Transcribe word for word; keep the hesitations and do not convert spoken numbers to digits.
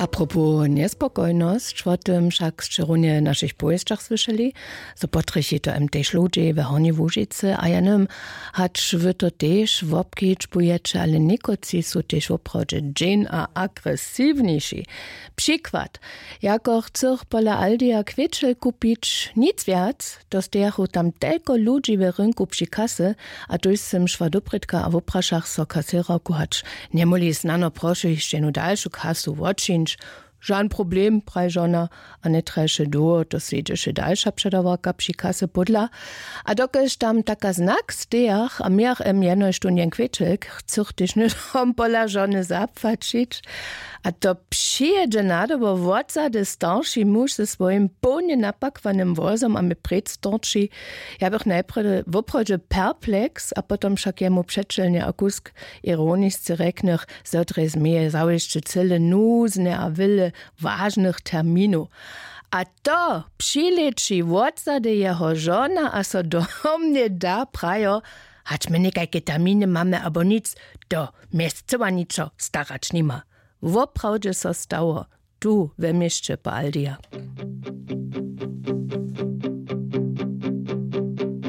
Apropos njespokojnosć, wo tym wšak sće runje w našich powěsćach słyšeli, zo potrjechi to m tež ludźi we hornjej łužicy a jenym, hač wy to tež wobkedźbujeće, ale někotři su tež woprawdźe dźeń a agresiwniši. Přikład: jako chcych pola aldija kwěčel kupić nic wjac, to stejachu tam telko ludźi we rynku při kasy. A tuž sym šła doprědka a woprašach so kasěrarku, hač njemóhli snano prošu hišće jednu dalšu kasu wotčińć. Žan problem, praji žona. A njetrješe dołho, to slědźeše dalša předawarka při kasy pódla. A dokelž tam taka znak stejach a mějach em jenož tón jen kwěčelk chcych tež hnydom pola žony zapłaćić. A to přijědźe nadobo wotzady starši muž ze swojim połnje napakwanym wozom a mi prěc storči. Ja bych najprjedy woprawdźe perpleks a potom wšak jemu přećelnje a kusk ironisce rjeknych, zo drje změje zawěsće cyle nuzne a wyle wažnych terminow. A to přilěči wotzady jeho žona a so do mnje da, prajo, hač my někajke terminy mamy abo nic, to mjez cyła ničo starać nima. Woprawdźe so stało, tu we měsće po aldija.